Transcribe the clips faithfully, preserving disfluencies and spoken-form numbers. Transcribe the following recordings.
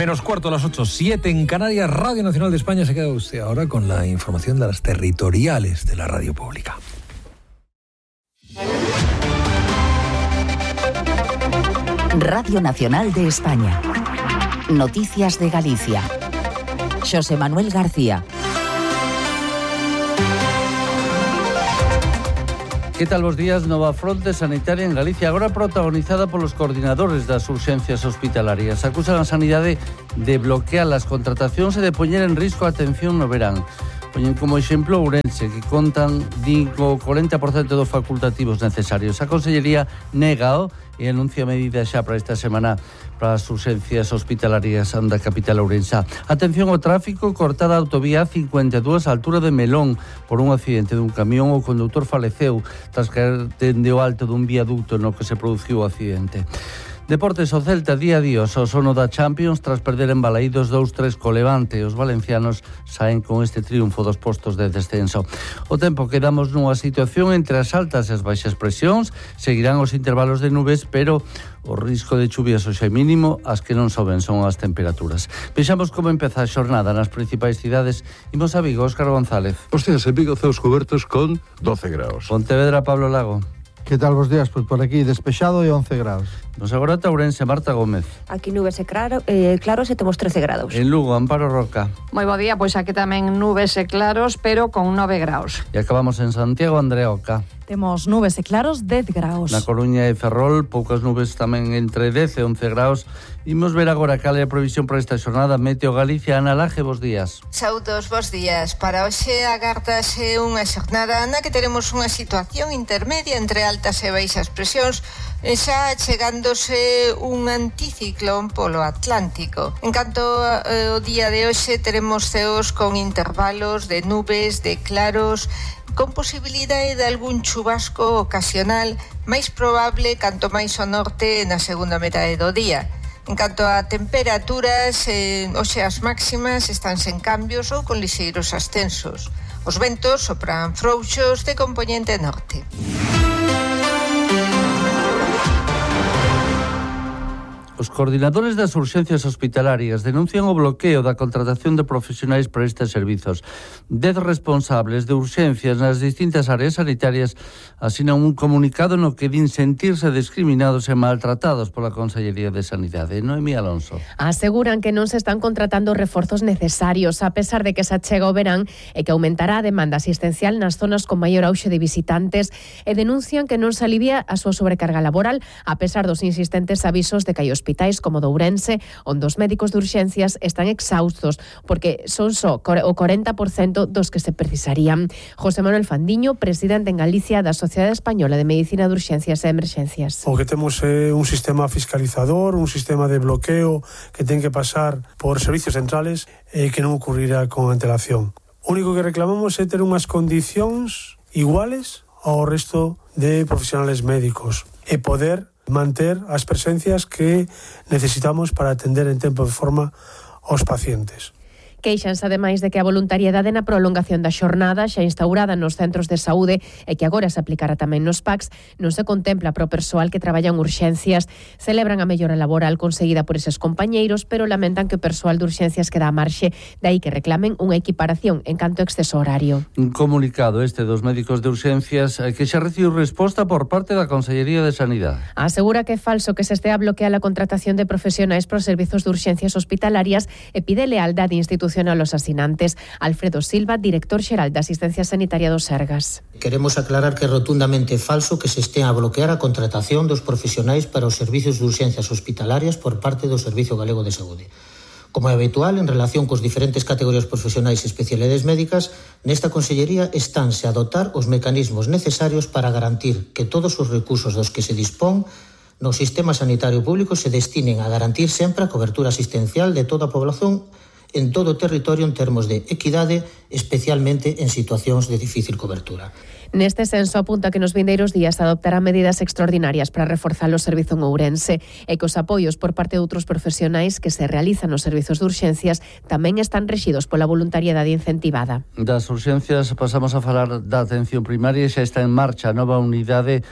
Menos cuarto a las ocho, siete en Canarias. Radio Nacional de España. Se queda usted ahora con la información de las territoriales de la radio pública. Radio Nacional de España. Noticias de Galicia. Xosé Manuel García. Que tal vos días? Nova fronte sanitaria en Galicia, agora protagonizada polos coordinadores das urxencias hospitalarias. Acusan a sanidade de bloquear as contratacións e de poñer en risco a atención no verán. Poñen como exemplo Ourense, que contan digo cuarenta por ciento dos facultativos necesarios. A Consellería négao e anuncia medidas xa para esta semana para as urxencias hospitalarias da capital ourensá. Atención ao tráfico, cortada a autovía cincuenta e dous a altura de Melón por un accidente dun camión. O condutor faleceu tras caer dende o alto dun viaducto no que se produciu o accidente. Deportes, o Celta día a día o sono da Champions tras perder en Balaídos dous tres co Levante. Os valencianos saen con este triunfo dos postos de descenso. O tempo, quedamos nunha situación entre as altas e as baixas presións. Seguirán os intervalos de nubes, pero o risco de chuvias hoxe é mínimo. As que non soben son as temperaturas. Vexamos como empeza a xornada nas principais cidades. Imos a Vigo, Óscar González. Os días en Vigo, ceos cubertos con doce graus. Pontevedra, Pablo Lago. Que tal vos días? Pois por aquí despexado e once graus. Nos agora Ourense, Marta Gómez. Aquí nubes e claro, eh, claros e temos trece graus. En Lugo, Amparo Roca. Moi bo día, pois aquí tamén nubes e claros, pero con nove graus. E acabamos en Santiago, Andrea Oca. Temos nubes e claros, dez graus. Na Coruña e Ferrol, poucas nubes tamén entre dez e once graus. Imos ver agora cal é a previsión para esta xornada. Meteo Galicia, Ana Laje, bos días. Saúdos, bos días. Para hoxe agardase unha xornada na que teremos unha situación intermedia entre altas e baixas presións, xa chegándose un anticiclón polo Atlántico. En canto ao día de hoxe, teremos ceos con intervalos de nubes, de claros, con posibilidade de algún chubasco ocasional, máis probable canto máis ao norte na segunda metade do día. En canto a temperaturas, eh, hoxe as máximas están sen cambios ou con lixeiros ascensos. Os ventos sopran frouxos de compoñente norte. Os coordinadores das urxencias hospitalarias denuncian o bloqueo da contratación de profesionais para estes servizos. Dez responsables de urxencias nas distintas áreas sanitarias asinan un comunicado no que din sentirse discriminados e maltratados pola Consellería de Sanidade. Noemí Alonso. Aseguran que non se están contratando reforzos necesarios, a pesar de que se achega o verán e que aumentará a demanda asistencial nas zonas con maior auxe de visitantes, e denuncian que non se alivia a súa sobrecarga laboral, a pesar dos insistentes avisos de que hai hospitais como de Ourense, onde os médicos de urxencias están exhaustos, porque son só o cuarenta por ciento dos que se precisarían. José Manuel Fandiño, presidente en Galicia da Sociedade Española de Medicina de Urxencias e Emerxencias. O que temos é un sistema fiscalizador, un sistema de bloqueo que ten que pasar por servicios centrales e que non ocurrirá con antelación. O único que reclamamos é ter unhas condicións iguales ao resto de profesionales médicos e poder manter as presencias que necesitamos para atender en tempo e forma aos pacientes. Queixanse ademais de que a voluntariedade na prolongación da xornada xa instaurada nos centros de saúde e que agora se aplicará tamén nos P A Cs non se contempla para o persoal que traballa en urxencias. Celebran a mellora laboral conseguida por eses compañeiros, pero lamentan que o persoal de urxencias queda a marxe, de aí que reclamen unha equiparación en canto a exceso horario. Un comunicado este dos médicos de urxencias que xa recibiu resposta por parte da Consellería de Sanidade. Asegura que é falso que se estea a bloquear a contratación de profesionais para os servizos de urxencias hospitalarias e pide lealdade institucional a los asinantes. Alfredo Silva, director xeral de Asistencia Sanitaria do Sergas. Queremos aclarar que é rotundamente falso que se estea a bloquear a contratación dos profesionais para os servizos de urxencias hospitalarias por parte do Servizo Galego de Saúde. Como é habitual, en relación cos diferentes categorías profesionais e especialidades médicas, nesta Consellería estánse a dotar os mecanismos necesarios para garantir que todos os recursos dos que se dispón no sistema sanitario público se destinen a garantir sempre a cobertura asistencial de toda a población en todo o territorio en termos de equidade, especialmente en situacións de difícil cobertura. Neste senso apunta que nos vindeiros días adoptará medidas extraordinarias para reforzar o servizo en Ourense e que os apoios por parte de outros profesionais que se realizan nos servizos de urxencias tamén están rexidos pola voluntariedade incentivada. Das urxencias pasamos a falar da atención primaria e xa está en marcha a nova unidade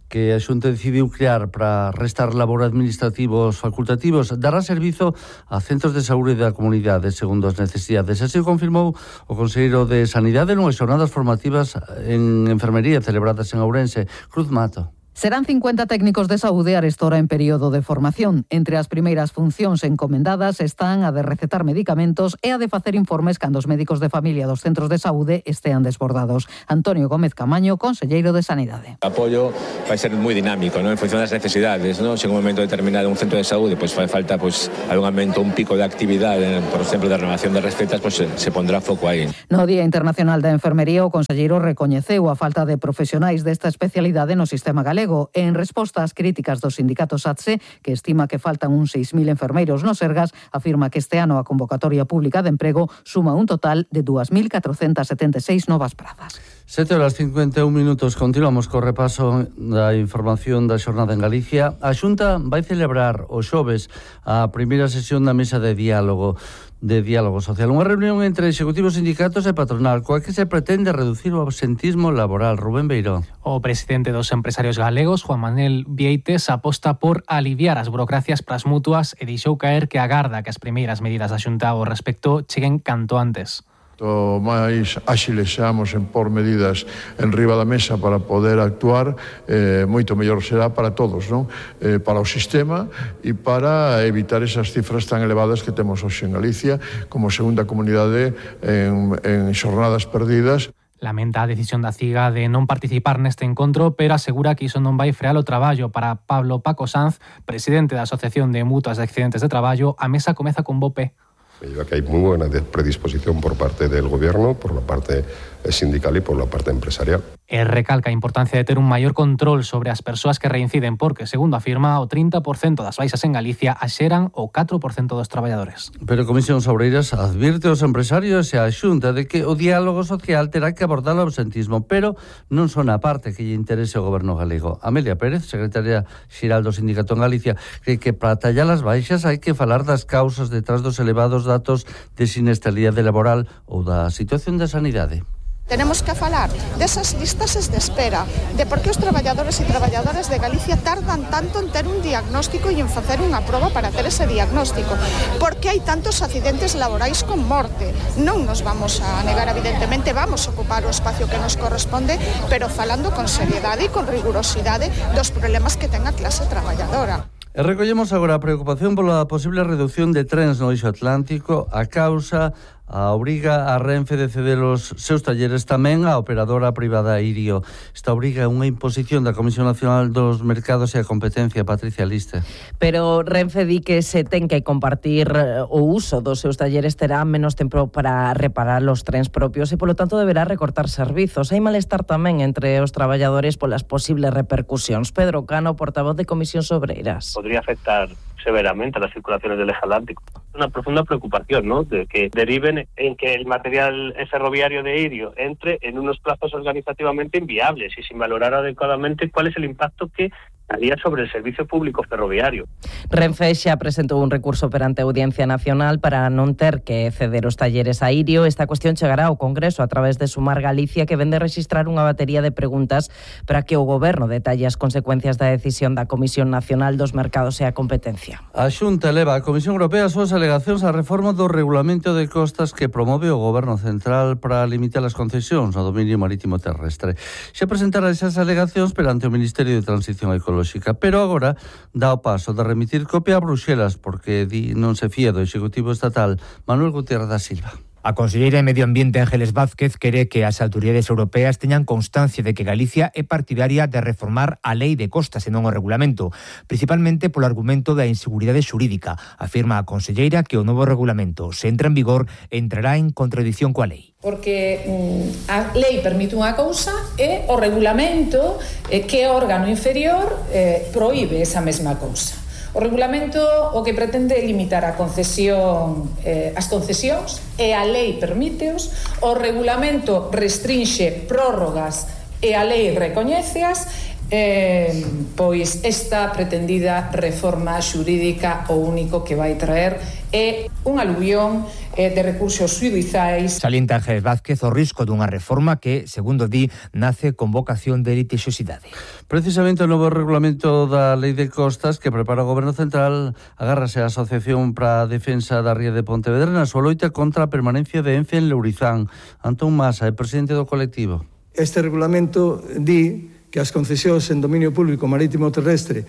que a Xunta decidiu crear para restar labor administrativos facultativos dará servizo a centros de saúde da comunidade segundo as necesidades. Así o confirmou o conselleiro de Sanidade nunhas xornadas formativas en enfermería celebradas en Ourense. Cruz Mato. Serán cincuenta técnicos de saúde arestora en período de formación. Entre as primeiras funcións encomendadas están a de recetar medicamentos e a de facer informes cando os médicos de familia dos centros de saúde estean desbordados. Antonio Gómez Camaño, conselleiro de Sanidade. O apoio vai ser moi dinámico, ¿no? En función das necesidades, ¿no? Se en un momento determinado un centro de saúde pues fai falta pues algún aumento, un pico de actividade, por exemplo, de renovación de recetas, pues se, se pondrá foco aí. No Día Internacional da Enfermería, o conselleiro recoñeceu a falta de profesionais desta especialidade no sistema galego. En resposta ás críticas do sindicato SATSE, que estima que faltan uns seis mil enfermeiros no Sergas, afirma que este ano a convocatoria pública de emprego suma un total de dúas mil catrocentas setenta e seis novas prazas. sete horas cincuenta e un minutos, continuamos co repaso da información da xornada en Galicia. A Xunta vai celebrar o xoves a primeira sesión da mesa de diálogo de diálogo social. Unha reunión entre executivos, sindicatos e patronal, coa que se pretende reducir o absentismo laboral. Rubén Beiró. O presidente dos empresarios galegos, Juan Manuel Vieites, aposta por aliviar as burocracias pras mutuas e deixou caer que agarda que as primeiras medidas da Xunta ao respecto cheguen canto antes. O máis áxiles seamos en por medidas en riba da mesa para poder actuar, eh, moito mellor será para todos, non? Eh, para o sistema e para evitar esas cifras tan elevadas que temos hoxe en Galicia como segunda comunidade en, en xornadas perdidas. Lamenta a decisión da CIGA de non participar neste encontro, pero asegura que iso non vai frear o traballo. Para Pablo Paco Sanz, presidente da Asociación de Mutuas de Accidentes de Traballo, a mesa comeza con bo pé. Me lleva que hay muy buena predisposición por parte del gobierno, por la parte sindical y por la parte empresarial. E recalca a importancia de ter un maior control sobre as persoas que reinciden porque, segundo afirma, o trinta por cento das baixas en Galicia axeran o catro por cento dos traballadores. Pero a Comisión Obreiras advirte aos empresarios e a Xunta de que o diálogo social terá que abordar o absentismo, pero non son a parte que lle interese ao goberno galego. Amelia Pérez, secretaria xeral do Sindicato en Galicia, cree que para tallar as baixas hai que falar das causas detrás dos elevados datos de siniestralidade laboral ou da situación da sanidade. Tenemos que falar desas listases de espera, de por que os traballadores e traballadoras de Galicia tardan tanto en ter un diagnóstico e en facer unha proba para ter ese diagnóstico. Por que hai tantos accidentes laborais con morte? Non nos vamos a negar, evidentemente, vamos a ocupar o espacio que nos corresponde, pero falando con seriedade e con rigurosidade dos problemas que ten a clase traballadora. E recollemos agora a preocupación pola posible reducción de trens no eixo atlántico a causa a obriga a Renfe de ceder os seus talleres tamén á operadora privada Irio. Esta obriga é unha imposición da Comisión Nacional dos Mercados e a Competencia, Patricia Liste. Pero Renfe di que se ten que compartir o uso dos seus talleres, terá menos tempo para reparar os trens propios e, polo tanto, deberá recortar servizos. Hai malestar tamén entre os traballadores polas posibles repercusións. Pedro Cano, portavoz de Comisións Obreiras. Podría afectar severamente a las circulaciones del eje atlántico. Una profunda preocupación, ¿no?, de que deriven en que el material ferroviario de Irio entre en unos plazos organizativamente inviables y sin valorar adecuadamente cuál es el impacto que haría sobre el servicio público ferroviario. Renfe xa presentou un recurso perante a Audiencia Nacional para non ter que ceder os talleres a Irio. Esta cuestión chegará ao Congreso a través de Sumar Galicia, que vende registrar unha batería de preguntas para que o Goberno detalle as consecuencias da decisión da Comisión Nacional dos Mercados e a Competencia. A Xunta eleva a Comisión Europea as súas alegacións á reforma do regulamento de costas que promove o Goberno Central para limitar as concesións no dominio marítimo terrestre. Xa presentará esas alegacións perante o Ministerio de Transición Ecológica, pero agora dá o paso de remitir copia a Bruxelas porque di non se fía do Executivo Estatal. Manuel Gutiérrez da Silva. A conselleira de Medio Ambiente Ángeles Vázquez quere que as autoridades europeas teñan constancia de que Galicia é partidaria de reformar a lei de costas e non o regulamento, principalmente polo argumento da inseguridade xurídica. Afirma a conselleira que o novo regulamento, se entra en vigor, entrará en contradición coa lei. Porque mm, a lei permite unha cousa e o regulamento, eh, que é órgano inferior, eh, proíbe esa mesma cousa. O regulamento o que pretende é limitar a concesión, eh, as concesións, e a lei permíteos. O regulamento restrinxe prórrogas e a lei recoñéceas, eh, pois esta pretendida reforma xurídica o único que vai traer é un aluvión eh, de recursos xudizais. Salienta Ángeles Vázquez o risco dunha reforma que, segundo di, nace con vocación de litixiosidade. Precisamente o novo regulamento da Lei de Costas que prepara o Goberno Central agárrase a Asociación para a Defensa da Ría de Pontevedra na súa loita contra a permanencia de Ence en Lourizán. Antón Masa é presidente do colectivo. Este regulamento di que as concesións en dominio público marítimo terrestre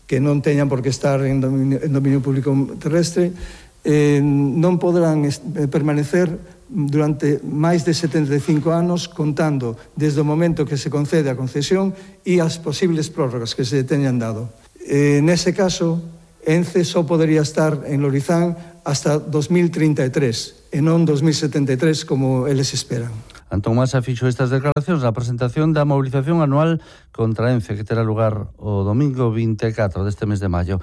que non teñan por que estar en dominio, en dominio público terrestre eh, non poderán permanecer durante máis de setenta e cinco anos contando desde o momento que se concede a concesión e as posibles prórrogas que se teñan dado. Eh, nese caso, Ence só podería estar en Lourizán hasta dos mil trinta e tres e non dos mil setenta e tres como eles esperan. Antón Masa fixo estas declaracións na presentación da movilización anual contra Ence que terá lugar o domingo vinte e catro deste mes de maio.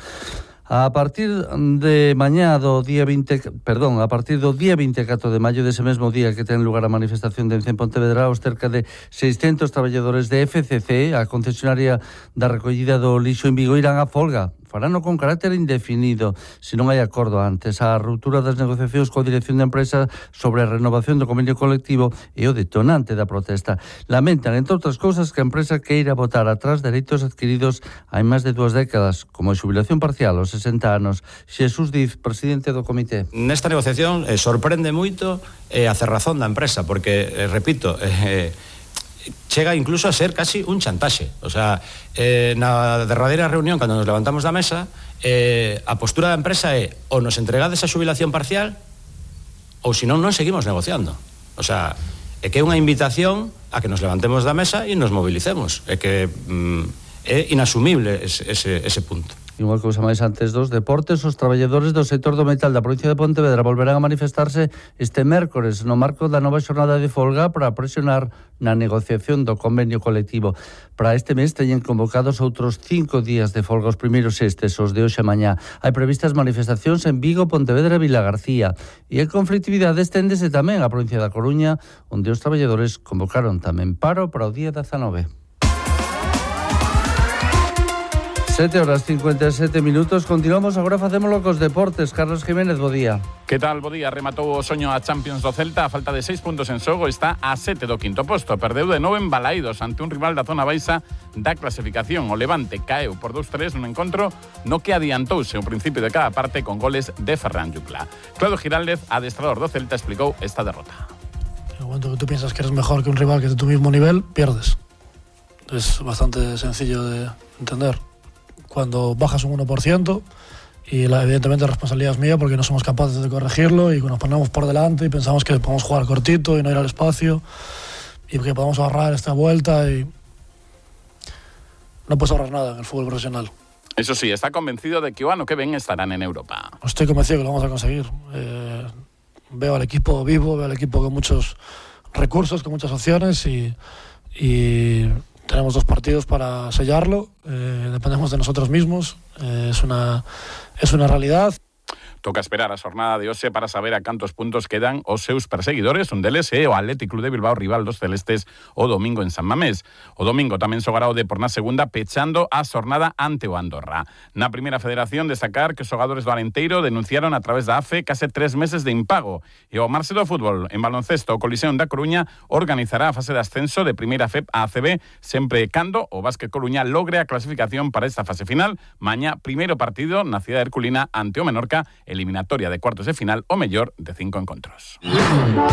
A partir de mañá do día vinte, perdón, a partir do día vinte e catro de maio dese mesmo día que ten lugar a manifestación de Ence en Pontevedra, os cerca de seiscentos traballadores de F C C, a concesionaria da recollida do lixo en Vigo, irán a folga. Farano con carácter indefinido, se non hai acordo antes. A ruptura das negociacións coa dirección da empresa sobre a renovación do convenio colectivo e o detonante da protesta. Lamentan, entre outras cousas, que a empresa queira botar atrás dereitos adquiridos hai máis de dúas décadas, como a xubilación parcial aos sesenta anos. Xesús Diz, presidente do comité. Nesta negociación eh, sorprende moito eh, a cerrazón da empresa, porque, eh, repito, eh, chega incluso a ser casi un chantaxe. O sea, eh, na derradeira reunión, cando nos levantamos da mesa, eh, a postura da empresa é ou nos entregades a xubilación parcial ou senón non seguimos negociando. O sea, é que é unha invitación a que nos levantemos da mesa e nos movilicemos. É que mm, é inasumible ese, ese, ese punto. E unha cousa máis antes dos deportes, os traballadores do sector do metal da provincia de Pontevedra volverán a manifestarse este mércores no marco da nova xornada de folga para presionar na negociación do convenio colectivo. Para este mes teñen convocados outros cinco días de folga, os primeiros estes, os de hoxe e mañá. Hai previstas manifestacións en Vigo, Pontevedra e Vilagarcía. E a conflictividade esténdese tamén á provincia da Coruña, onde os traballadores convocaron tamén paro para o día dezanove. sete horas cincuenta e sete minutos. Continuamos, agora facémolo cos deportes. Carlos Jiménez, bo día. Que tal, bo día? Rematou o soño a Champions do Celta. A falta de seis puntos en xogo está a sete do quinto posto. Perdeu de novo en Balaídos ante un rival da zona baixa da clasificación. O Levante caeu por dos tres nun encontro no que adiantouse o principio de cada parte con goles de Ferran Yucla. Claudio Giraldez, adestrador do Celta, explicou esta derrota. En el momento que tú piensas que eres mejor que un rival que es de tu mismo nivel, pierdes. Es bastante sencillo de entender. Cuando bajas un uno por ciento y la, evidentemente la responsabilidad es mía porque no somos capaces de corregirlo y nos ponemos por delante y pensamos que podemos jugar cortito y no ir al espacio y que podemos ahorrar esta vuelta y no puedes ahorrar nada en el fútbol profesional. Eso sí, está convencido de que o ano que ven estarán en Europa. Estoy convencido que lo vamos a conseguir. Eh, veo al equipo vivo, veo al equipo con muchos recursos, con muchas opciones y... y tenemos dos partidos para sellarlo, eh, dependemos de nosotros mismos, eh, es una, es una realidad. Toca esperar a xornada de hoxe para saber a cantos puntos quedan os seus perseguidores. Un deles é o Athletic Club de Bilbao, rival dos celestes, o domingo en San Mamés. O domingo tamén xogará o Depor na segunda, pechando a xornada ante o Andorra. Na primeira federación, destacar que os xogadores do Alenteiro denunciaron a través da A F E case tres meses de impago. E o Marse do Fútbol, en baloncesto, o Coliseum da Coruña organizará a fase de ascenso de primeira F E P a A C B, sempre cando o Básquet Coruña logre a clasificación para esta fase final. Mañá, primeiro partido na cidade herculina ante o Menorca, eliminatoria de cuartos de final o mellor de cinco encontros.